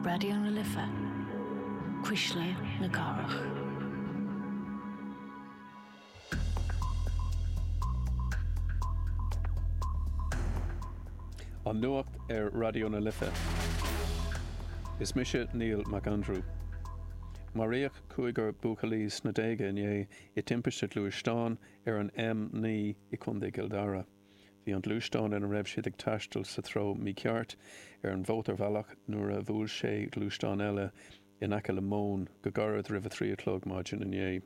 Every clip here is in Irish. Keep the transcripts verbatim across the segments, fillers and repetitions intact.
Raidió na Life, Cuisle na Cathrach. An Nuacht ar Raidió na Life. Is mise Neil McAndrew. Maraíodh cúigear buachaillí sna déaga inné i dtimpiste gluaisteáin ar an M naoi i gContae Chill Dara. Bhí an gluaisteán ina raibh siad ag taisteal sa treo mícheart ar an mhótarbhealach nuair a bhuail sé gluaisteán eile in aice le Móin go gairid roimh a trí a chlog maidin inné.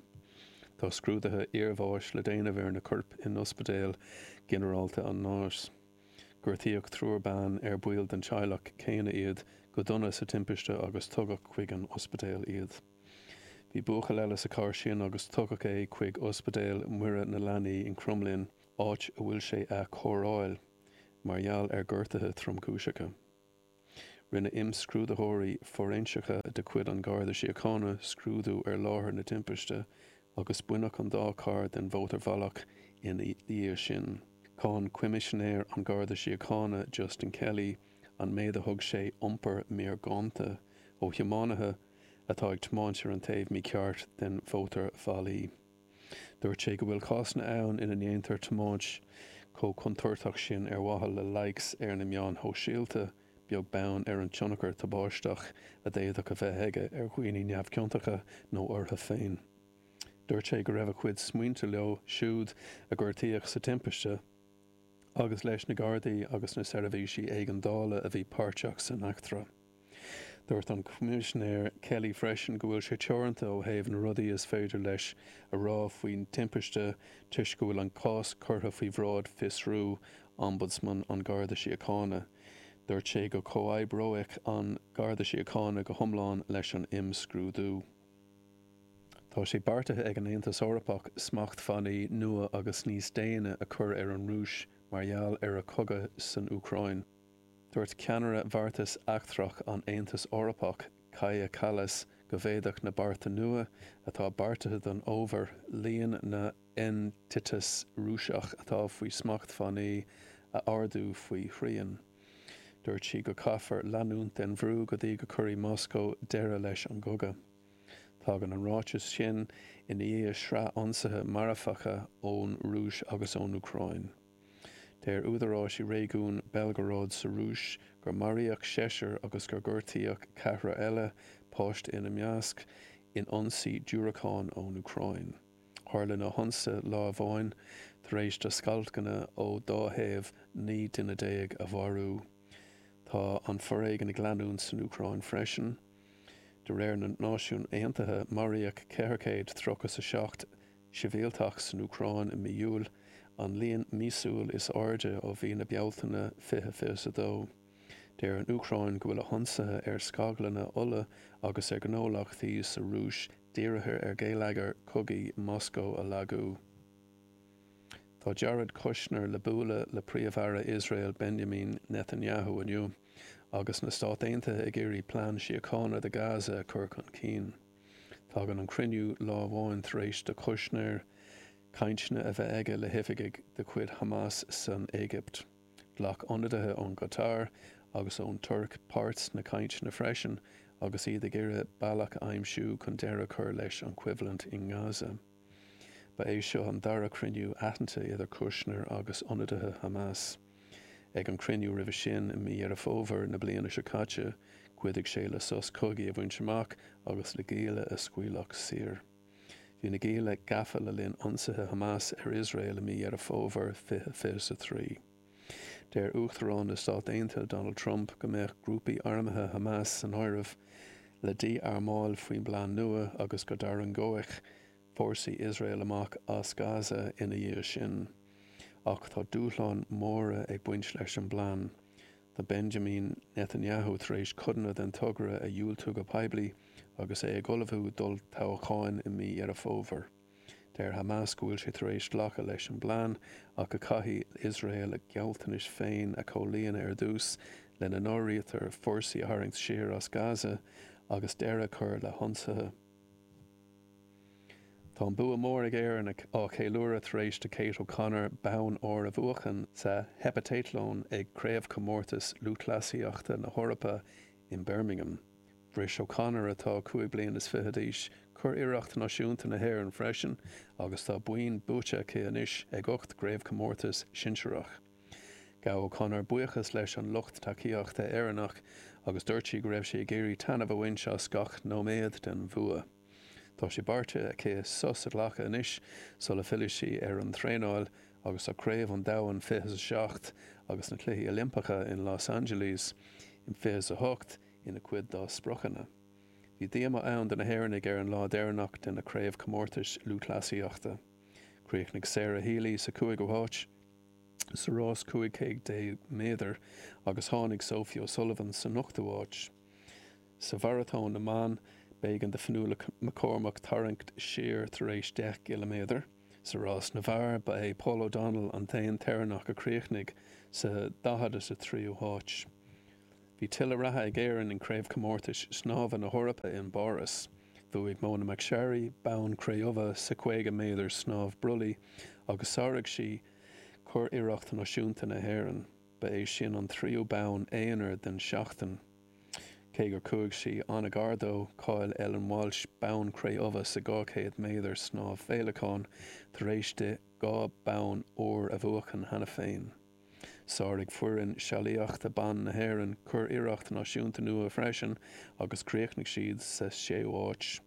Tá scrúduithe iarbháis le déanamh ar na coirp in Ospidéal Ginearálta an Náis. Gortaíodh triúr ban ar baill den teaghlach céanna iad go dona sa timpiste agus tugadh chuig an ospidéal iad. Bhí buachaill eile sa charr sin agus tugadh é chuig Ospidéal Mhuire na Leanaí in Cromghlinn, áit a bhfuil sé á chóireáil mar gheall ar ghortuithe tromchúiseacha. Rinne imscrúdaitheoirí fóiréinseacha de chuid an Gharda Síochána scrúdú ar láthair na timpiste agus baineadh an dá charr den mhótarbhealach ina dhiaidh sin. Cháin Coimisinéir an Gharda Síochána Justin Kelly an méid a thug sé iompar míorgónta ó thiománaithe atá ag tiomáint ar an taobh mícheart den mhótarbhealaí. Dúirt sé go bhfuil cásanna ann ina ndéantar tiomáint chomh contúirteach sin ar mhaithe le likes ar na meáin shóisialta, beag beann ar an tionchar tubaisteach a d'fhéadfadh a bheith aige ar dhaoine neamhchiontacha nó orthu féin. Dúirt sé go raibh a chuid smaointe leo siúd a gortaíodh sa timpiste agus leis na Gardaí agus na seirbhísí éigeandála a bhí páirteach san eachtra. Dúirt an Coimisinéir Kelly freisin go bhfuil sé teoranta ó thaobh na rudaí is féidir leis a rá faoin timpiste toisc go bhfuil an cás curtha faoi bhráid fiosrú Ombudsman an Gharda Síochána. Dúirt sé go comhoibreoidh an Garda Síochána go hiomlán leis an imscrúdú. Tá sé beartaithe ag an Aontas Eorpach smachtbhannaí nua agus níos déine a chur ar an Rúis mar gheall ar a cogadh san Úcráin. Dúirt ceannaire bheartas eachtrach an Aontais Eorpach, Kaja Kallas, go bhféadfadh na bearta nua atá beartaithe don fhómhar líon na n-eintiteas Rúiseach atá faoi smachtbhannaí a ardú faoi thrian. Dúirt sí go gcaithfear leanúint den bhrú go dtí go gcuirfidh Moscó deireadh leis an gcogadh. Tagann an ráiteas sin i ndiaidh sraith ionsaithe marfacha ón Rúis agus ón Úcráin. Deir údaráis i réigiún Belgorod sa Rúis gur maraíodh seisear agus gur gortaíodh ceathrar eile, páiste ina measc, in ionsaí diúracán ón Úcráin. Tharla na hionsaithe lá amháin tar éis do scailtghunna ó dá thaobh naoi duine déag a mharú. Tá an foréigean ag leanúint san Úcráin freisin. De réir na Náisiún Aontaithe, maraíodh ceithre chéad tríocha a seacht sibhialtach san Úcráin i mí Iúil, an líon míosúil is airde ó mhí na Bealtaine fiche fiche a dó. Deir an Úcráin go bhfuil a hionsaithe ar scaglanna ola agus ar ghnólachtaí sa Rúis dírithe ar gheilleagar cogaidh Moscó a lagú. Tá Jared Kushner le bualadh le Príomh-Aire Iosrael Benjamin Netanyahu inniu, agus na Stáit Aontaithe ag iarraidh plean síochána do Gaza a chur chun cinn. Tagann an cruinniú lá amháin tar éis do Kushner cainteanna a bheith aige le hoifigigh de chuid Hamas san Éigipt. Ghlac ionadaithe ón gCatar agus ón Tuirc páirt sna cainteanna freisin agus iad ag iarraidh bealach a aimsiú chun deireadh a chur leis an choimhlint i nGaza. Ba é seo an dara cruinniú aitheanta idir Kushner agus ionadaithe Hamas. Ag an cruinniú roimhe sin i mí Dheireadh Fómhair na bliana seo caite, chuidigh sé le sos cogaidh a bhaint amach agus le gialla a scaoileadh saor. Bhí na gialla gafa le linn ionsaithe Hamas ar Iosrael i mí Dheireadh Fómhair fiche fiche a trí. Deir Uachtarán na Stát Aontaithe Donald Trump go mbeadh grúpaí armtha Hamas san áireamh le dí-armáil faoin bplean nua agus go dtarraingeoidh fórsaí Iosrael amach as Gaza ina dhiaidh sin. Ach tá dúshláin mhóra ag baint leis an bplean. Tá Benjamin Netanyahu tar éis codanna den togra a dhiúltú go poiblí agus é ag ullmhú d'olltoghchán i mí Dheireadh Fómhair. Deir Hamas go bhfuil sé tar éis glacadh leis an bplean ach go gcaithfidh Iosrael a ghealltanais féin a chomhlíonadh ar dtús, lena n-áirítear fórsaí a tharraingt siar as Gaza agus deireadh a chur le hionsaithe. Tá an bua mór ag Éirinn á cheiliúradh tar éis do Kate O'Connor bonn óir a bhuachan sa heipeatatlón ag Craobhchomórtas Lúthchleasaíochta na hEorpa in Birmingham. Bhris O'Connor atá cúig bliana is fiche d'aois curiarracht náisiúnta na hÉireann freisin agus tá boinn buaite aici anois ag ocht gcraobhchomórtas sinsearach. Ghabh O'Connor buíochas leis an lucht tacaíochta Éireannach agus dúirt sí go raibh sí ag iarraidh taitneamh a bhaint as gach nóiméad den bhua. Tá sé beartaithe aici sos a ghlacadh anois sula bhfillfidh sí ar an traenáil agus tá Craobh an Domhain fiche a seacht agus na Cluichí Oilimpeacha in Los Angeles in fiche a hocht ina cuid dá spriocanna. Bhí díomá ann do na hÉireannaigh ar an lá deireanach de na craobhchomórtais lúthchleasaíochta. Chríochnaigh Sarah Healy sa cúigiú háit sa rás cúig chéad déag méadar agus tháinig Sophie O'Sullivan san ochtú háit. Sa mharatón na mban b'éigean do Fionnuala McCormack tarraingt siar tar éis deich gciliméadar. Sa rás na bhfear ba é Paul O'Donnell an t-aon tÉireannach a chríochnaigh sa daichead is a tríú háit. Bhí tuilleadh ratha ag Éirinn in craobhchomórtais snámha na hEorpa in bPáras. Bhuaigh Mona McSharry bonn cré-umha sa caoga méadar snámh brollaigh agus sháraigh sí curiarracht náisiúnta na hÉireann. Ba é sin an tríú bonn aonair den seachtain. Cé gur chuaigh sí an-ghar dó, chaill Ellen Walsh bonn cré-umha sa dhá chéad méadar snámh féileacáin tar éis di dhá bonn óir a bhuachan cheana féin. Sáraigh foireann sealaíochta ban na hÉireann curiarracht náisiúnta nua freisin agus chríochnaigh siad sa séú háit.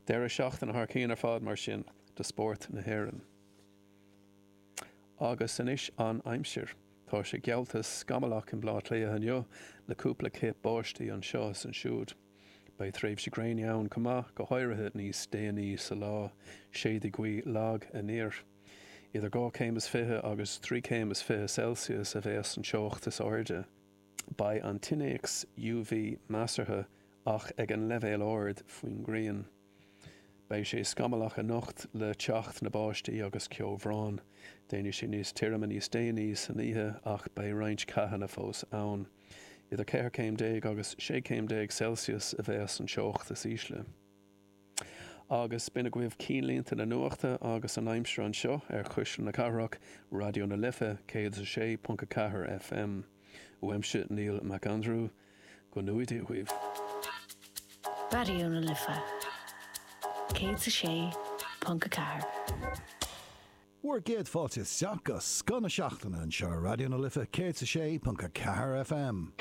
Deireadh seachtaine thar cionn ar fad mar sin do spórt na hÉireann. Agus anois an aimsir. Tá sé geallta scamallach in Baile Átha Cliath inniu le cúpla cith báistí anseo is ansiúd. Beidh tréimhsí gréine ann chomh maith, go háirithe níos déanaí sa lá, séidfidh gaoth lag aniar. Idir dhá chéim is fiche agus trí chéim is fiche Celsius a bheas an teocht is airde. Beidh an t-innéacs U V measartha ach ag an leibhéal ard faoin ngrian. Beidh sé scamallach anocht le teacht na báistí agus ceobhrán. Déanfaidh sé níos tirime níos déanaí san oíche ach beidh roinnt ceathanna fós ann. Idir ceithre chéim déag agus sé chéim déag Celsius a bheas an teocht is ísle. Agus b'in agaibh cinnlínte na nuachta agus an aimsir anseo ar Chuisle na Cathrach, Raidió na Life céad a sé ponc a ceathair F M. Uaimse Neil McAndrew, go ngnóthaí Dia dhaoibh. Raidió na Life céad a sé ponc a ceathair. Bhur gcéad fáilte isteach go Scoth na Seachtaine anseo Raidió na Life céad a sé ponc a ceathair F M.